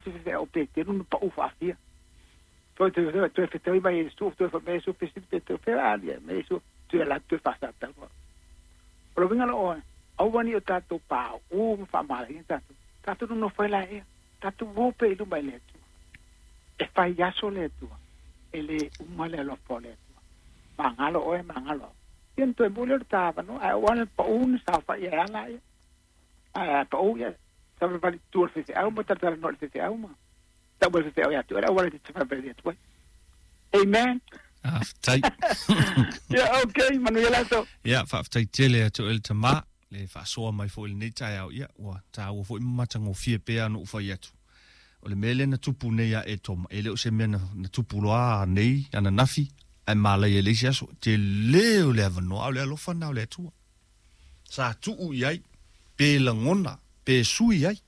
Se o Petero na pa'u fa'afia. Toe toe toe toe fetaui mai Iesu, toe fai mai Iesu, fesili Petero, fea a alii ai mai Iesu, toe alu atu toe fa'asatau. O le uiga la oe, aua ne i o tatou paū ma fa'amalaina tatou, tatou nonofo ai laea, tatou o pea i luma i le Atua. E fai aso le Atua, e lē uma le alofa o le Atua. Magalo oe, magalo au. Ia ona toe mua lea o le ta avanoa, ae ou ala pa'u na saofa'i ai a laia. Ae a pa'u ia, savalivali i tua o le faifeau ma talatalanoa i le faifeau ma tau mai le faifeau ia te oe le auala e te savalivali atu ai. Amen. Faafetai. Ia, okay, manuia le aso. Ia, faafetai tele ia te oe le tama, le faasoa mai foi i lenei taeao. Ia, ua taua foi ma matagofie pea ona ou fai atu. O le mea lea na tupu nei ia Etoma, e le o se mea na, na tupu loa nei, ananafi, ae malaia i le isi aso. Tele o le avanoa, a o le alofa lena o le Atua. Sa tuu i ai, pe lagona, pe sui ai.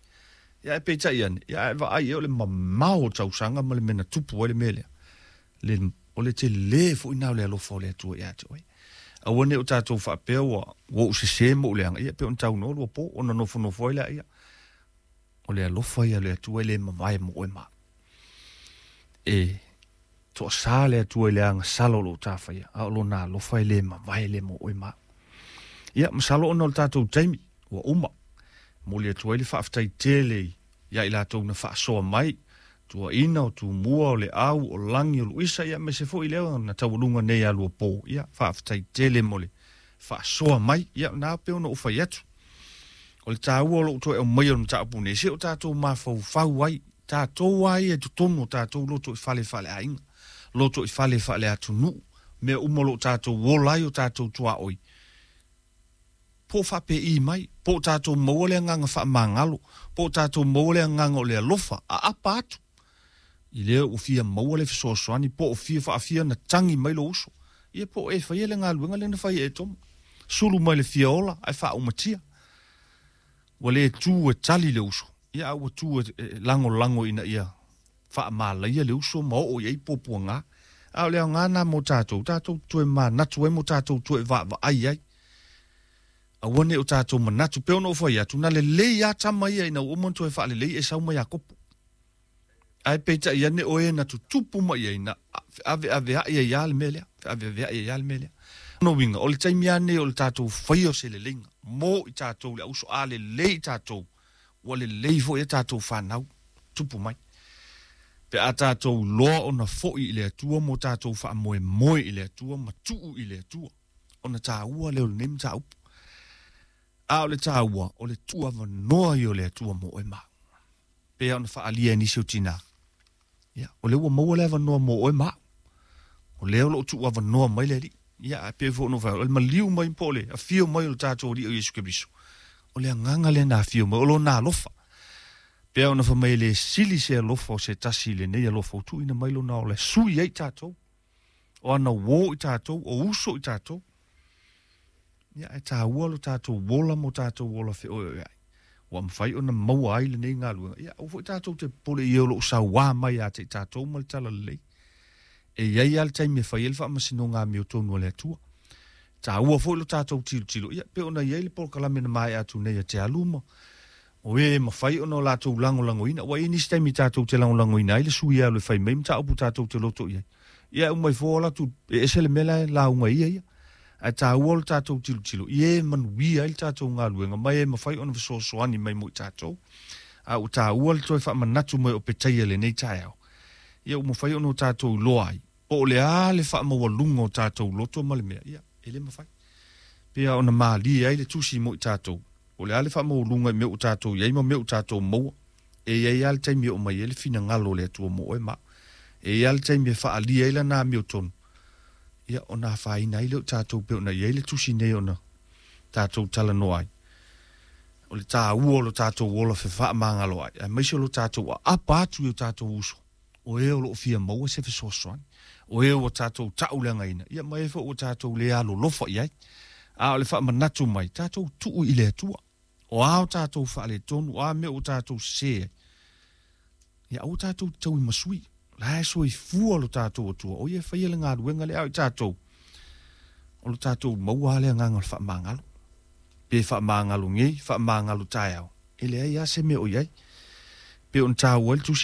Ia ae peitai ane, ia ae vaai i ai o le mamao o tausaga ma le mea na tupu ai le mea lea. Le, o le tele foi na o le alofa o le Atua ia te oe. Aua ne i o tatou faapea ua, ua ou sese ma ou leaga, ia pei ona taunoa lua po, ona nofonofo ai lea, ia, o le alofa ia o le Atua e le mavae mo oe ma. E toasā le Atua i le agasala o lou tafaia, a o lona alofa e le mavae le mo oe ma. Ia, masalo ona o le tatou taimi, ua uma. Momoli atu ai le faafetai tele ia i latou na faasoa mai, Tuaina, o Tumua, o Leau, o Lagi, o Luisa, ia aemaise foi lea na taualuga nei ia Luapo. Ia, faafetai tele mo le faasoa mai. Ia, na pei ona ou fai atu, o le taua o lou toe aumaia o le mataupu nei, se o tatou mafaufau ai, tatou lava ia i totonu o tatou loto i fale faaleaiga, loto i fale faaleatunuu, mea uma o lo o tatou ola ai o tatou tuaoi, po o faapei mai, po o tatou maua le agaga faamagalo, po o tatou maua le agaga o le alofa, aapa atu i lea ua fia maua le fesoasoani, po o fia faafia ona tagi mai lou uso, ia po o e faia le galuega lea na fai e Etoma, sulu mai le fia ola ae faaumatia. Ua le tu e tali le uso, ia a ua tu e lagolago ina ia faamalaia le uso ma oo i ai puapuaga. A o le aoga lena mo tatou, tatou te toe manatu ai ma tatou toe vaavaai ai. Aua ne i o tatou manatu, pei ona ou fai atu, na lelei lava tama ia ina ua uma ona toe faalelei Esau ma Iakopo. Ae peitai ane o e na tutupu mai ai, na feaveaveai ai lava le mea lea, feaveaveai ai lava le mea lea. O lona uiga, o le taimi lava lenei o le tatou faia o se leleiga mo i tatou le auso, a lelei i tatou, ua lelei foi a tatou fanau tupu mai. Pe a tatou iloa ona foi i le Atua mo tatou faamoemoe i le Atua ma tuu i le Atua, ona taua lea o lenei mataupu. A o le taua, o le tuuavanoa ia o le Atua mo oe ma au. Pei ona faaalia e nisi o tinā, ia, o lea ua maua le avanoa mo oe ma au. O lea o lo o tuuavanoa mai le Alii. Ia, ae pei foi ona ou fai atu, o le maliu mai po o le afio mai o le tatou Alii o Iesu Keriso, o le agaga lea na afio mai, o Lona alofa. Pei ona fai mai e le sili se alofa o se tasi i lenei alofa ua tuuina mai Lona ola e sui ai tatou, o ana uō i tatou, o uso i tatou. Ia, ae taua lo tatou ola ma o tatou ola feoeoeai, ua mafai ona maua ai lenei galuega. Ia, aua foi tatou te popole i e o lo o sauā mai ia te i tatou ma le talalelei. E i ai lava le taimi e fai ai le faamasinoga amiotonu a le Atua. E taua foi lo tatou tilotilo, ia, pei ona i ai le polokalame na maea atu nei a Te Alu ma o e mafai ona o latou lagolagoina. Ua i ai nisi taimi tatou te lagolagoina ai le sui e alu e fai mai mataupu tatou te loto i ai. Ia e uma ifo ola atu e ese le mea la e lauga ai ia ia. Ae taua lo tatou tilotilo i e manuia ai le tatou galuega ma e mafai ona fesoasoani mai mo i tatou. A ua taua le toe faamanatu mai o Petaia i lenei taeao, ia ua mafai ona o tatou iloa ai po o le a le faamaualuga o tatou loto ma le mea, ia, e le mafai. Pei ona malie ai le tusi mo i tatou, po o le a le faamaualuga i mea ua tatou i ai ma mea ua tatou maua, e i ai lava le taimi e oo mai ai le finagalo o le Atua mo oe ma au. E i ai lava le taimi e faaalia ai lana amiotonu, ia, ona afaina ai lea o tatou pei ona i ai le tusi nei ona tatou talanoa ai. O le taua o lo tatou ola fefaamagaloai, aemaise o lo tatou aapa atu i o tatou uso, o e o lo o fia maua se fesoasoani, o e ua tatou tauleagaina, ia ma e foi ua tatou le alolofa i ai. A o le faamanatu mai, tatou tuu i le Atua. O a o tatou faaletonu, o a mea ua tatou sese ai, ia aua tatou te tauimasui. La e soifua lo tatou Atua, o ia e faia le galuega lea, a o i tatou, o lo tatou maua lava le agaga o le faamagalo. Pe faamagalo nei, faamagalo taeao, e leai lava se mea o i ai. Pei ona taua ai le tusi